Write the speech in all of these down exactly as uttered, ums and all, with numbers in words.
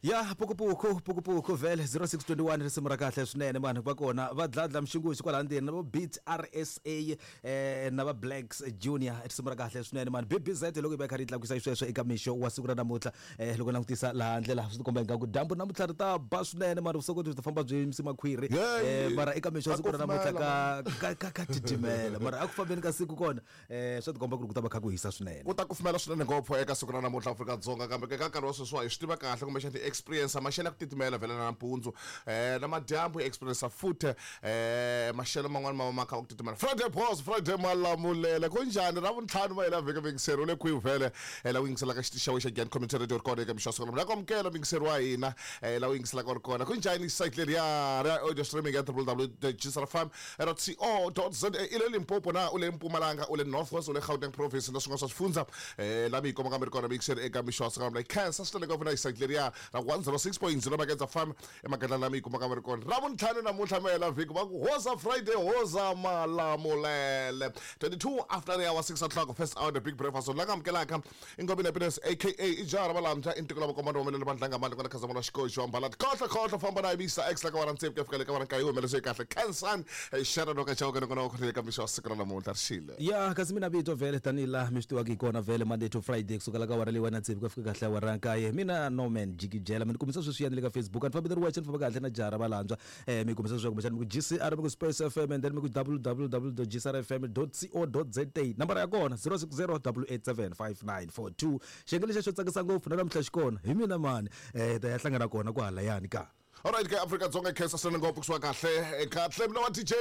Ya pukupuku pukupuku vhele zero six twenty one risimu ra kahle swinene vanhu va kona va dladla mxinguxi kwala ndzeni na vo Beat R S A eh na va Blacks Junior risimu ra kahle swinene mani B B Z loko yi va yi kha yi tlakusa xisweswo eka mixo wa siku ra namuntlha eh loko langutisa laha ndlela swi tikomba ingaku dyambu namuntlha ri ta ba swinene mani vusokoti byi ta famba byi yimisa makhwiri eh mara eka mixo wa siku ra namuntlha ka ka ka ka titimela mara a ku fambeni ka siku kona eh swi tikomba ku ri ku ta va kha ku hisa swinene ku ta kufumela swinene ngopfu eka siku ra namuntlha Afrika-Dzonga kambe ka nkarhi wa sweswiwa hi swi tiva kahle kumbexana ti-experience maxelo ya ku titimela vhele na nampundzu eh na madyambu hi experience futhi eh maxelo man'wana ma ma kha ku titimela Friday boss Friday malamulele ku njhani ra vuntlhanu ma hela vhiki mingiseri u le kwihi vhele eh la u yingiselaka xitichi xa Giyani Community Radio record eka mixo wa siku ra amukela mingiseri wa hina eh la u yingiselaka ri kona ku njhani site leriya ra audio streaming ya w w w dot g s r f m dot co dot z a i le Limpopo na u le Mpumalanga u le North West u le Gauteng province na swin'wana swa swifundza eh la mi yi kuma kambe ri kona mingiseri eka mixo wa siku ra khensa swinene ngopfu na site leriya ra one zero six point zero Magedza Farm emagedla lama yi kumaka va ri kona ra vuntlhanu namuntlha ma hela vhiki va ku hoza Friday hoza malamulele twenty-two after the hour six o'clock first hour the big breakfast la nga amukelaka i Ngobeni Happiness aka i jaha ra valamja i ntiko la vakomando va melele vandlanga mali kwala Khazamula xikoxi wa mbalati khohlo khohlo famba na Mr X la ka wara ntsevu ku ya fika le ka wara nkaye yi humelese kahle Khensan Sharon wa ka Chauke nakona wa khonele ka mixo wa siku ra namuntlha ri xile ya kasi mina vito vhele tanihi laha mi swi tivaka hi kona vhele Monday to Friday kusukela ka wara leyiwani na tsevu ku ya fika kahle awara nkaye mina Norman Jikijela mi ni kumisa sweswiyani le ka Facebook a ni fambi ni ri wexe ni famba kahle na jaha ra valandzwa eh mi kumisa sweswi kumbexana mi ku G C R mi ku Space F M and then mi ku w w w dot g c r f m dot co dot z a nambara ya kona zero six zero double eight seven five nine four two xiyenge lexi xo tsakisa ngopfu na namuntlha xi kona hi mina mani eh ta ya hlangana kona kwahalayani ka Alright ke Afrika-Dzonga khensa swinene ngopfu kusuka kahle kahle mina wa D J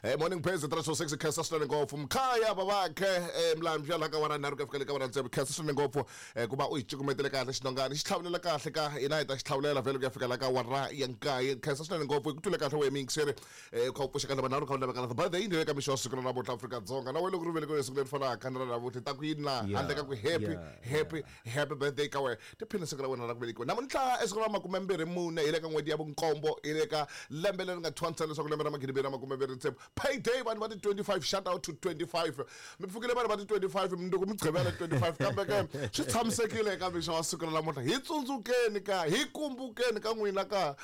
eh morning praise three oh six khensa swinene ngopfu mkhaya babakhe eh mlambya la ka wara nharhu ku ya fika le ka wara tsevu khensa swinene ngopfu eh ku va u hi cukumetele kahle xinongani xi tlhavulela kahle ka hina hi ta xi tlhavulela vhele ku ya fika la ka wara ya nkaye khensa swinene ngopfu hi ku twile kahle wehe miyingiseri eh u kha u pfuxa ka vanharhu kha u laveka la birthday yini le ka mixo wa siku ra namuntlha Afrika-Dzonga na wena loko ri velekiwe siku leri fanaka na ra namuntlha ta ku yini na handle ka ku happy happy happy birthday ka wena tiphina siku ra wena ra ku velekiwa namuntlha esiku ra makume mbirhi mune hi le ka n'hweti ya vunkombo hi le ka lembe leri nga thwanisa leswaku lembe ra magidi mbirhi na makume mbirhi tsevu payday vanhu va ti twenty-five shout out to twenty-five mi pfukile vanhu va ti twenty-five mundzuku mi gqivela twenty-five kambe ke swi tshamisekile eka mixo wa siku ra namuntlha hi tsundzukeni ka hi kumbukeni ka n'wina ka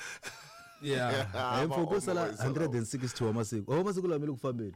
yeah hi mpfuku sala one hundred sixty wa masiku wa masiku lama le ku fambeni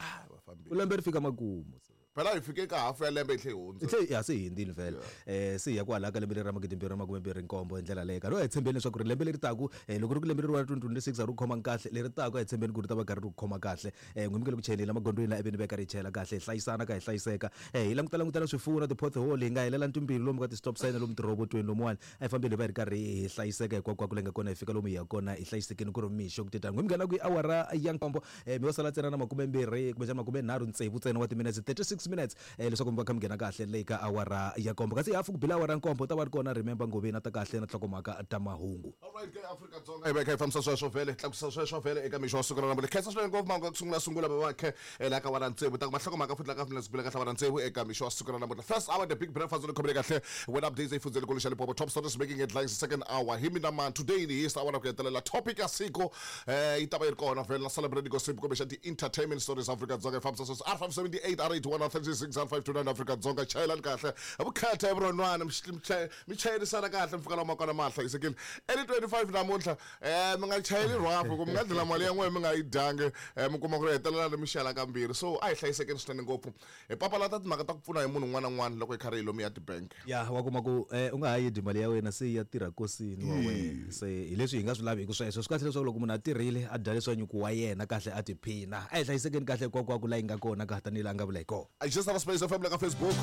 u lembe ri fika makumu phela hi fike ka hafu ya lembe hi tlhe hi hundza hi ya se hi hundzile vhele eh se hi ya kwalaha ka lembe leri ra magidi mbirhi na makume mbirhi nkombo hi ndlela leyo ka hi tshembeni leswaku ri lembe leri taku loko ri ku lembe leri wa twenty twenty-six a ri ku khoma kahle leri taku a hi tshembeni ku ri ta va karhi ri ku khoma kahle eh n'wi mi le ku cheleni emagondzweni la eveni va karhi hi chela kahle hi hlayisana ka hi hlayiseka eh hi languta langutela swifuwo na ti-pothole hi nga helela ntimbili lomu ka ti-stop sign lomu tirhobotweni lomuwani a hi fambeni hi va hi ri karhi hi hlayiseka hinkwako leyi nga kona hi fika lomu hi ya kona hi hlayisekeni ku ri mixo ku titani n'wi mi nghena ku i awara ya nkombo eh mi yo sala ntsena na makume mbirhi kumbexana makume nharhu tsevu ntsena wa timinetse thirty-six minutes eh leswaku mi va kha mi nghena kahle le ka awara ya nkombo kasi hafu ku bila awara nkombo ta va ri kona remember Ngobeni ta kahle na nhlokomhaka ta mahungu alright ke Afrika-Dzonga hi va kha hi fambisa sweswo vhele tlakusa sweswo vhele eka mixo wa siku ra namuntlha khensa swinene ngopfu mahungu ya ku sungula sungula va vakhe la ka wara tsevu ta ku mahlokomhaka futhi la ka minutes bila kahle wara tsevu eka mixo wa siku ra namuntlha first hour the big breakfast le khomile kahle when updates efundzeni kulu xa Limpopo top stories making headlines second hour hi mina man today ni hisa awara ku hetelela topic ya siku eh yi ta va yi ri kona vhele na celebrate gossip kumbe xa ti-entertainment stories Afrika-Dzonga hi fambisa sweswo R five seventy-eight R eighty-one R thirty-six R five two nine Afrika-Dzonga chayelani kahle vukhetha hi vurhonwana mi chayerisana kahle mi fika laha ma kona ma hlayisekile early twenty-five namuntlha eh mi nga chayeli rhwafu ku mi nga dlela mali ya n'wina mi nga yi dyangi mi kuma ku ri hetelela mi xela kambirhi so a hi hlayisekeni swinene ngopfu hi papalata timhaka ta ku pfuna hi munhu un'wana na un'wana loko hi karhi hi lomu ya tibank ya wa kuma ku u nga ha yi dyi mali ya wena se ya tirha kosini wa wena se hi leswi hi nga swi laviki sweswo swi kahle leswaku loko munhu a tirhile a dya leswa nyuku wa yena kahle a tiphina a hi hlayisekeni kahle hinkwako laha yi nga kona ka tanihi laha nga vula hi kona I just have a Space F M la ka Facebook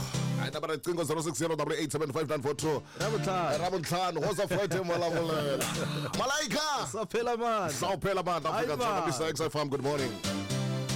a ta va riqingho zero six zero double eight seven five nine four two Ravutlhanu Ravutlhanu hoza Friday malamulela Malaika Saphela mandla Saphela mandla Afrika-Dzonga Mister X F M good morning.